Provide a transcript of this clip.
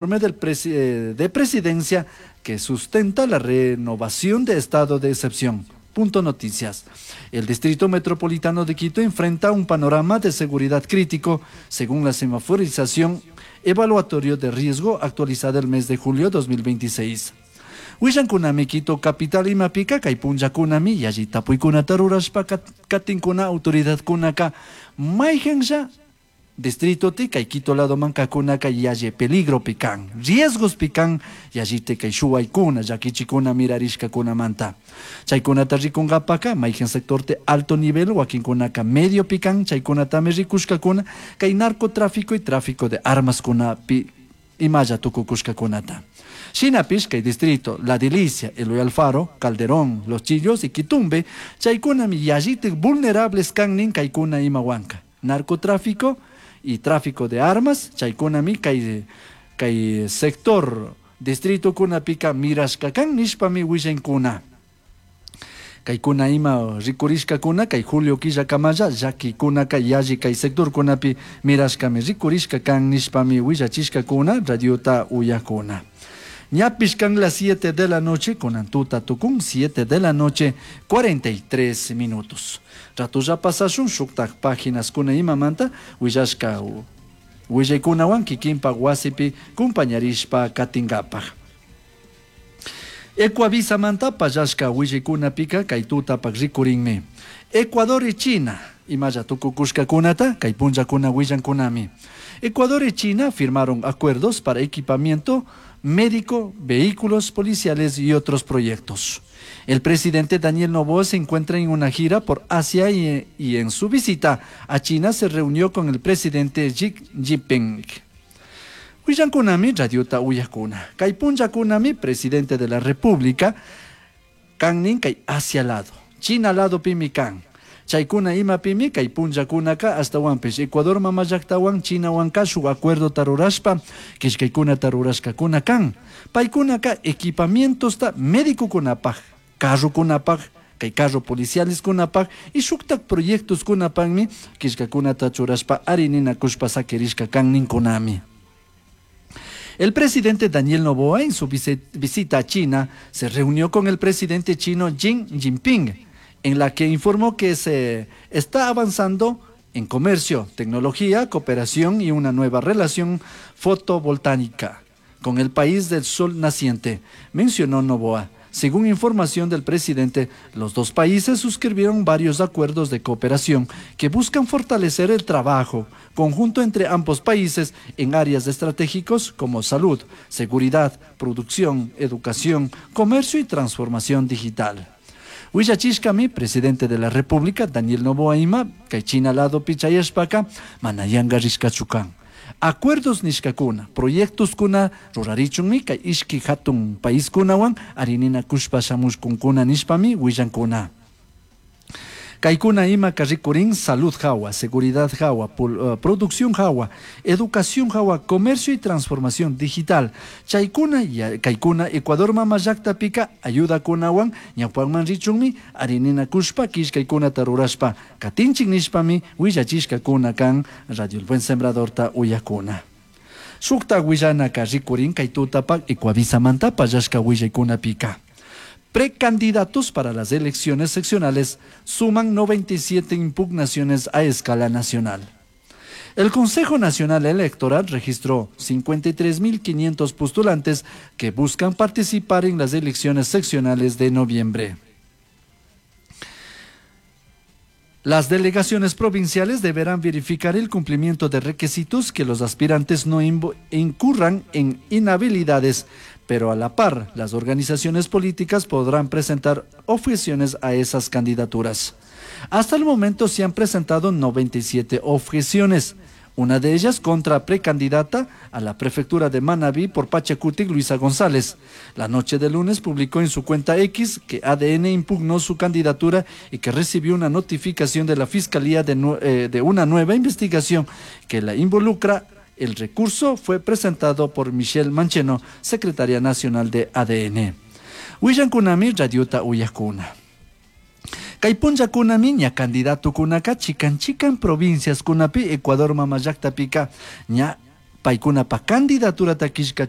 De presidencia que sustenta la renovación de estado de excepción. Punto Noticias. El Distrito Metropolitano de Quito enfrenta un panorama de seguridad crítico según la semaforización evaluatorio de riesgo actualizada el mes de julio 2026. Willankunami Quito capital imapika kay punllakunami yalli tapuykunata rurashpa katinkuna autoridadkunaka mayhanlla distrito ti kay Quito ladoman kakunaka yalli peligropi kan, riesgospi kan yallite kay shuwaykuna llakichikuna mirarishkakunamanta. Chaykunata rikunkapaka mayhan sector te alto nivel wakinkunaka medio pikan chaykunatami rikushkakuna kay narcotráfico y tráfico de armas kunapi imalla tukukushkakunata. Shinapish kay distrito La Delicia, Eloy Alfaro, Calderón, Los Chillos y Quitumbe chaykunami yallitik vulnerables kannin kaykuna imawanka. Narcotráfico y tráfico de armas chaykunami kay sector distrito kunapika mirashkakan nishpami willankuna. Kaykuna ima rikurishkakuna kay julio killakamalla llakikunaka yalli kay sectorkunapi mirashkami rikurishka kan nishpami willachishkakuna radiota uyakuna. Ñapish kan las 7 de la noche, kunan tuta tukun 7 de la noche, 43 minutos. Ratulla pasashun shuktak páginas kuna imamanta willashka willaykunawan kikinpak wasipi kumpañarishpa katinkapak. Ecuavisamanta pallashka willaykunapika kay tutapak rikurinmi. Ecuador y China, imalla tukukushkakunata kay punllakuna willankunami. Ecuador y China firmaron acuerdos para equipamiento médico, vehículos policiales y otros proyectos. El presidente Daniel Noboa se encuentra en una gira por Asia y en su visita a China se reunió con el presidente Xi Jinping. Willankunami radiota uyakuna. Kay punllakunami presidente de la República kannin kay Asia lado. China lado pimi kan. Chaykuna imapimi kay punllakunaka astawanpish Ecuador mama llaktawan Chinawanka shuk acuerdo tarurashpa killkaykuna tarurashkakuna kan. Paykunaka equipamientosta médicokunapaj, carrokunapaj, kay carro policiales kunapaj y shuktak proyectos kunapajmi killkakunata churashpa arininakushpa sakirishka kan ninkunami. El presidente Daniel Noboa en su visita a China se reunió con el presidente chino Xi Jinping, en la que informó que se está avanzando en comercio, tecnología, cooperación y una nueva relación fotovoltaica con el país del sol naciente, mencionó Noboa. Según información del presidente, los dos países suscribieron varios acuerdos de cooperación que buscan fortalecer el trabajo conjunto entre ambos países en áreas estratégicos como salud, seguridad, producción, educación, comercio y transformación digital. Willachishkami, presidente de la República, Daniel Noboa ima, kay China lado pichayashpaka, mana yanga rishkachu kan. Acuerdos nishkakuna, proyectos kuna rurarichunmi kay ishki hatun paiskunawan arininakushpa shamushkunkuna nishpami willankuna. Kaykuna ima rikurin salud hawa, seguridad hawa, producción hawa, educación hawa, comercio y transformación digital. Chaykuna ya, kaykuna Ecuador mama llaktapika ayuda kunawan ñawpakman richunmi arininakushpa killkaykuna tarurashpa katinchik nishpami willachishkakuna kan Radio El Buen Sembradorta uyakuna. Shukta willanaka rikurin kay tutapak Ecuavisamanta pallashka willaykunapika. Precandidatos para las elecciones seccionales suman 97 impugnaciones a escala nacional. El Consejo Nacional Electoral registró 53.500 postulantes que buscan participar en las elecciones seccionales de noviembre. Las delegaciones provinciales deberán verificar el cumplimiento de requisitos que los aspirantes no incurran en inhabilidades, pero a la par, las organizaciones políticas podrán presentar objeciones a esas candidaturas. Hasta el momento se han presentado 97 objeciones, una de ellas contra precandidata a la prefectura de Manabí por Pachacutic, Luisa González. La noche de lunes publicó en su cuenta X que ADN impugnó su candidatura y que recibió una notificación de la Fiscalía de una nueva investigación que la involucra. El recurso fue presentado por Michelle Mancheno, secretaria nacional de ADN. Willankunami radiota uyakuna. Kay punllakunami ña candidatokunaka chikan chikan provincias kunapi Ecuador mama llaktapika ña Paicunapaj candidaturata quillcachishpa.